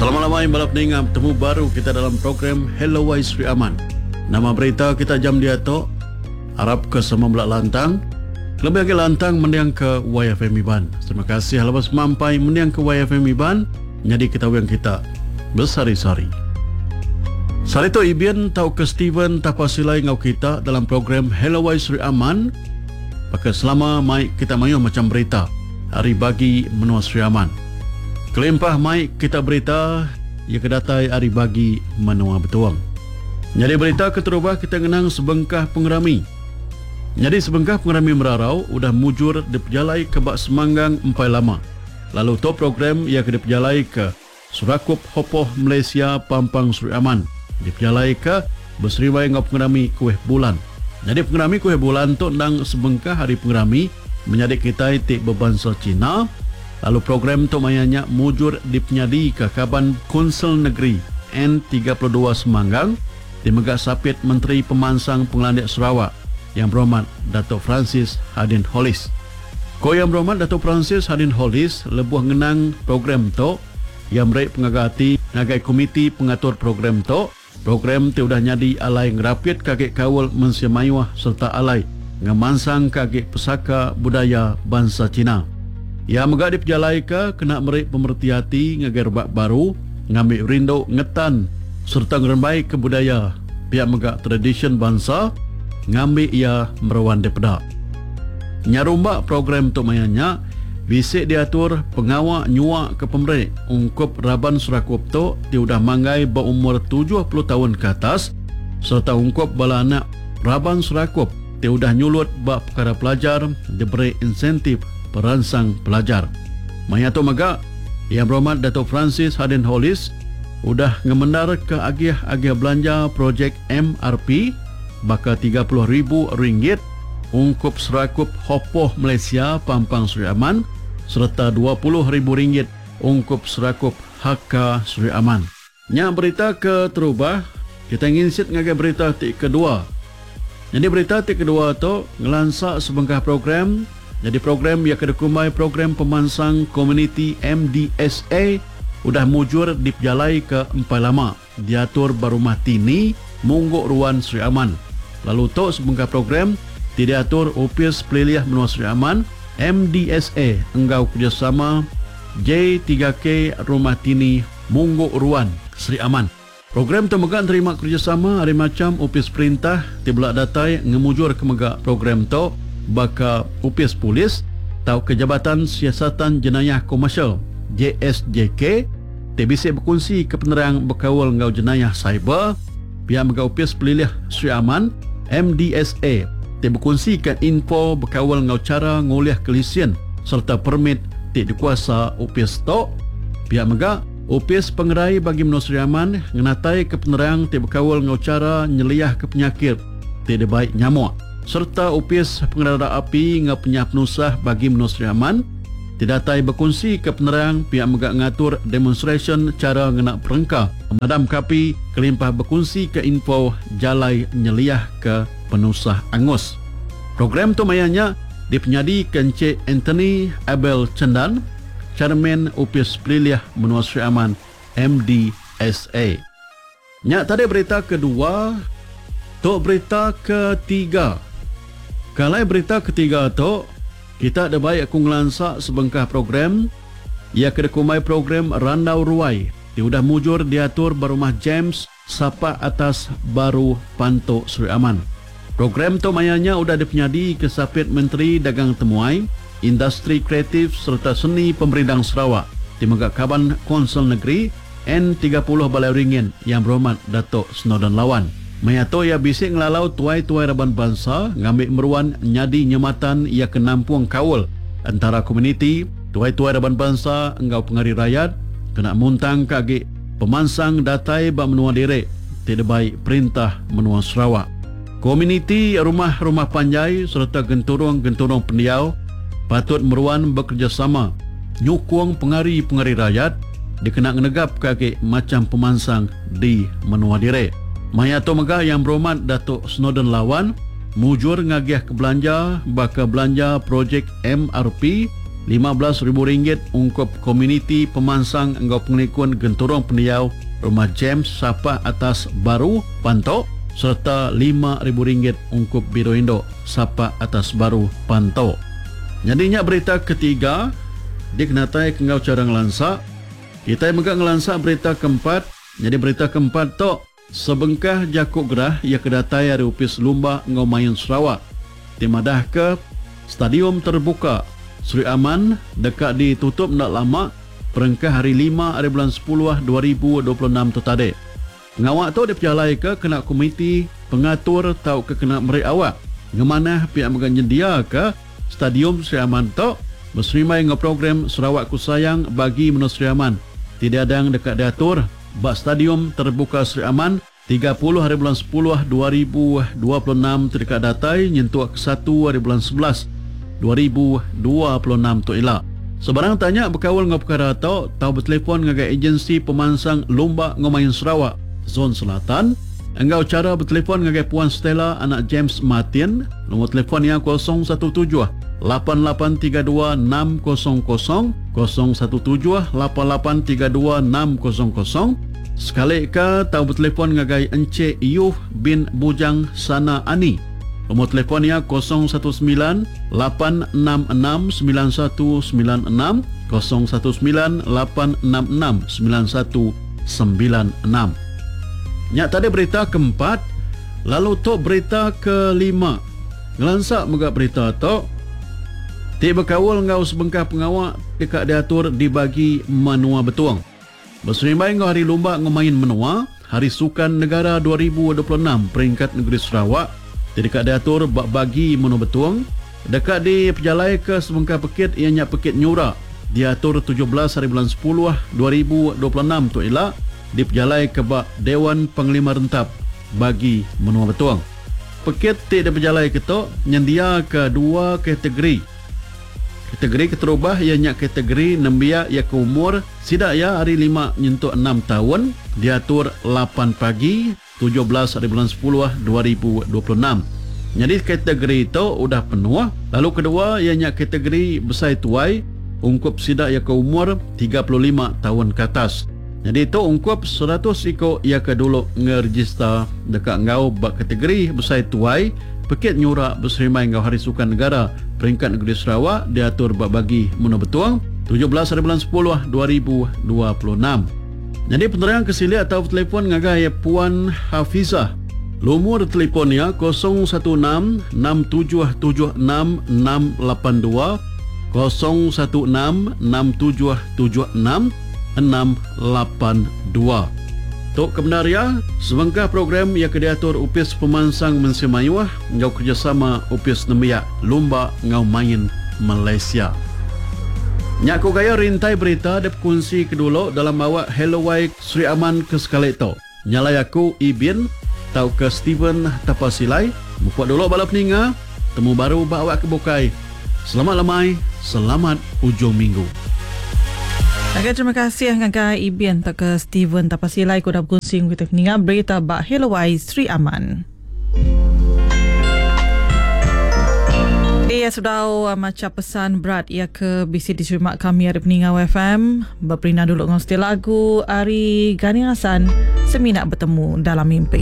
Selamat lemai bala peninga betemu baru kita dalam program Hello Wai Sri Aman. Nama berita kita jam diatu? Arap ke sama bela lantang. Kelebih agi lantang mending ke YFM Iban. Terima kasih laban semampai mending ke YFM Iban nyadi ke tawing kita besehari-sehari. Sehari tu Ibin tauka Steven Tapa Silai enggau kita dalam program Hello Wai Sri Aman. Baka selama mai kita mayuh macham berita ari bagi menua Sri Aman. Kelimpah mai kita berita iya ke datai ari bagi menua Betong. Nyadi berita keterubah kita ngenang sebengkah pengerami. Nyadi sebengkah pengerami merarau udah mujur dipejalaika ba Semanggang empai lama. Lalu tu program iya ke dipejalaika Serakup Hopoh Malaysia Pampang Sri Aman dipejalaika beseribai enggau pengerami Kuih Bulan. Nyadi pengerami Kuih Bulan tu endang sebengkah ari pengerami menyadi kitai ti bebansa Cina lalu program tu maya nya mujur dipenyadika kaban Kunsil Negeri N 32 Semanggang ti mega Sapit Menteri Pemansang Pengelandik Sarawak Yang Berhormat Datuk Francis Hadin Hollis. Ku Yang Berhormat Datuk Francis Hadin Hollis lebuh ngenang program tu, iya meri pengaga ati ngagai komiti pengatur program tu, program ti udah nyadi alai ngerapitka agi kaul mensia mayuh sereta alai ngemansangka agi pesaka budaya bansa China. Iya mega dipejalaika kena meri pemereti ati ngagai rebak baru ngambi rindu ngetan sereta ngerembaika budaya pia mega tradisyen bansa ngambi iya meruan dipeda. Nyerumba program tu maya nya, bisi diatur pengawa nyuaka pemeri ungkup raban serakup tu ti udah manggai ba umur 70 taun ke atas sereta ungkup bala anak raban serakup ti udah nyulut ba pekara pelajar diberi insentif peransang pelajar. Maya tu mega, Yang Berhormat Datuk Francis Hadin Hollis udah ngemendarka agih-agih belanja projek MRP baka 30 ribu ringgit ungkup Serakup Hopoh Malaysia Pampang Sri Aman sereta 20 ribu ringgit ungkup Serakup Hakka Sri Aman. Nya berita keterubah, kitai nginsit ngagai berita ti kedua. Nyadi berita ti kedua tu ngelansa sebengkah program, nyadi program iya ke dikumbai Program Pemansang Komuniti MDSA udah mujur dipejalaika empai lama diatur ba Rumah Tini, Munggu Ruan Sri Aman. Lalu tu sebengkah program ti diatur Opis Pelilih Menua Sri Aman, MDSA, enggau kerejasama J3K Rumah Tini, Munggu Ruan, Sri Aman. Program tu mega nerima kerejasama ari macham opis perintah ti bela datai ngemujurka mega program tu baka Opis Polis tauka Jabatan Siasatan Jenayah Komersial, JSJK, ti bisi bekunsika penerang bekaul enggau jenayah siber, pia mega Opis Pelilih Sri Aman, MDSA, ti bekunsika info bekaul enggau chara ngulihka lisin sereta permit ti dikuasa opis tu. Pia mega, Opis Pengerai Bagi Menua Sri Aman ngenataika penerang ti bekaul enggau chara nyeliahka penyakit ti dibai nyamuk sereta Opis Pengerara Api enggau Penyah Penusah Bagi Menua Sri Aman ti datai bekunsika penerang pia mega ngatur demonstrasyen chara ngena perengka pemadamka api kelimpah bekunsika info jalai nyeliahka penusah angus. Program tu maya nya dipenyadika Encik Anthony Abel Chendan, Chairman Opis Pelilih Menua Sri Aman, MDSA. Nya tadi berita kedua, tu berita ketiga. Ke alai berita ketiga tu, kita dibai aku ngelansa sebengkah program iya ke dikumbai program Randau Ruai ti udah mujur diatur ba Rumah James Sapak Atas Baru Pantu Sri Aman. Program tu maya nya udah dipenyadika Sapit Menteri Dagang Temuai, Industri Kreatif sereta Seni Pemerindang Sarawak ti mega Kaban Konsil Negeri N 30 Balai Ringin Yang Berhormat Datuk Snowdan Lawan. Maya tu iya bisi ngelalau tuai-tuai raban bansa ngambi meruan nyadi nyematan iya ke nampung kaul entara komuniti, tuai-tuai raban bansa enggau pengari rayat kena muntangka agi Pemansang datai ba menua diri ti dibai perintah menua Sarawak. Komuniti rumah-rumah panjai sereta genturung-genturung pendiau patut meruan bekerejasama nyukung pengari-pengari rayat dikena ngenegapka agi macham pemansang di menua diri. Maya tu mega Yang Berhormat Datuk Snowdan Lawan mujur ngagihka belanja baka belanja projek MRP. 15,000 ringgit ungkup Komuniti Pemansang enggau Pengelikun Genturung Pendiau Rumah James Sapah Atas Baru, Panto sereta 5,000 ringgit ungkup Biro Indu Sapah Atas Baru, Panto. Nyadi nya berita ketiga dikenatai ke enggau chara ngelansa. Kitai mega ngelansa berita keempat. Nyadi berita keempat tu sebengkah jaku gerah iya ke datai ari Opis Lumba enggau Main Sarawak ti madahka Stadium Terbuka Sri Aman deka ditutup enda lama berengkah hari lima ari bulan sepuluh 2026 tu tadi. Pengawa tu dipejalaika kena komiti pengatur tauka kena meri awak ngemanah pia mega nyendiaka Stadium Sri Aman tu beserimbai enggau program Sarawakku Sayang Bagi Menua Sri Aman ti diadang deka diatur ba Stadium Terbuka Sri Aman 30 hari bulan sepuluh 2026 ti deka datai nyentuk ke satu hari bulan 11 2026 tu ila. Sebarang tanya bekaul enggau pekara tu tau betelefon ngagai Ejensi Pemansang Lumba enggau Main Sarawak, Zon Selatan, enggau chara betelefon ngagai Puan Stella anak James Martin, nombor telefon iya 017 8832 600, 017 8832 600, sekali ke tau betelefon ngagai Encik Yuh bin Bujang Sana Ani. Nombor telefon iya 019 866 9196, 019 866 9196. Nya tadi berita keempat, lalu tu berita kelima. Ngelansa mega berita tu ti bekaul enggau sebengkah pengawa deka diatur di bagi menua Betong. Beserimbai enggau Hari Lumba enggau Main Menua, Hari Sukan Negara 2026 Peringkat Negeri Sarawak ti deka diatur ba bagi menua Betong, deka dipejalaika sebengkah pekit iya nya Pekit Nyura diatur 17 hari bulan sepuluh 2026 tu ila dipejalaika ba Dewan Panglima Rentap bagi menua Betong. Pekit ti dipejalaika tu nyendiaka dua kategori. Kategori keterubah iya nya kategori nembiak iya ke umur sida iya ari lima nyentuk enam taun diatur lapan pagi 17 ari bulan sepuluh 2026. Nyadi kategori tu udah penuh lalu kedua iya nya kategori besai tuai ungkup sida iya ke umur 35 taun ke atas. Nyadi tu ungkup 100 iku iya ke dulu ngerejista deka enggau ba kategori besai tuai. Pekit nyura beserimbai enggau Hari Sukan Negara Peringkat Negeri Sarawak diatur ba Bagi Menua Betong, 17 hari bulan sepuluh 2026. Nyadi penerang ke silik tau betelefon ngagai Puan Hafizah. Lumur telefon iya 016 6776 682, 016 6776 682. Tu ke bendar iya, sebengkah program iya ke diatur Opis Pemansang Mensia Mayuh enggau kerejasama Opis Nembiak Lumba enggau Main Malaysia. Nya ku gaya rintai berita dipekunsi ke dulu dalam awak Hello Wai Sri Aman ke sekali tu. Nyalai aku Ibin tauka Steven Tapasilai mupuk dulu bala peninga, temu baru ba awak ke bukai. Selamat lemai, selamat ujung minggu. Okey, terima kasih ngagai Ibin tauka Steven Tapasilai ke udah bekunsi enggau kita peninga berita ba Hello Wai Sri Aman. Iya sebedau uh, macha pesan berat iya ke bisi diterima kami ari peninga FM beperina dulu enggau seti lagu ari Gani Hassan semina betemu dalam mimpi.